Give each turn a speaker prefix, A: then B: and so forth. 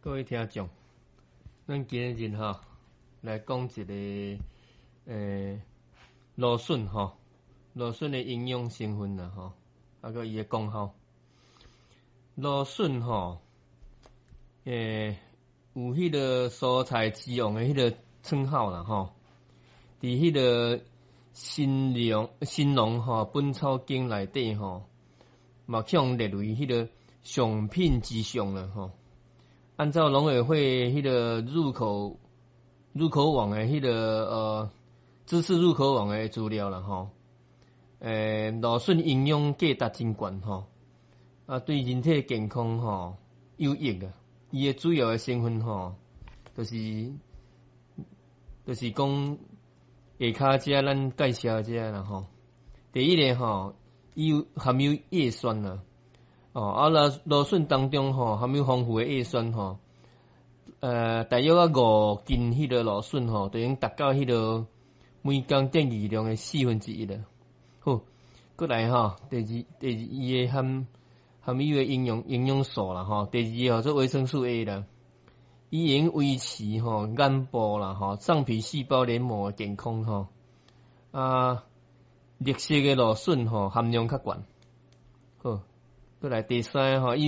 A: 各位聽眾，咱今日吼來講一个蘆筍吼，蘆筍的營養成分啦吼，啊閣伊的功效。蘆筍吼，有彼个蔬菜之王的彼个稱號啦吼。佇彼个神農神農吼本草經內底吼，嘛去予列為彼个上品之上啦吼。按照農委會彼个入口網的彼个知識入口網的資料啦吼，蘆筍營養價值真懸吼，啊對人體健康吼有益啊。伊的主要的成分吼，就是講下跤遮咱介紹這啦吼。第一个吼，伊有含有葉酸啦。哦，啊，蘆筍當中吼含有豐富的葉酸吼，大約啊5斤彼个蘆筍吼，就能達到彼个每工建議量的1/4啦。好，閣來吼，第二伊的含有的營養素啦吼，第二個叫做維生素 A 啦，伊會用維持吼眼部啦吼上皮細胞黏膜的健康吼。啊，綠色的蘆筍吼含量較懸。好，閣來第三個吼，伊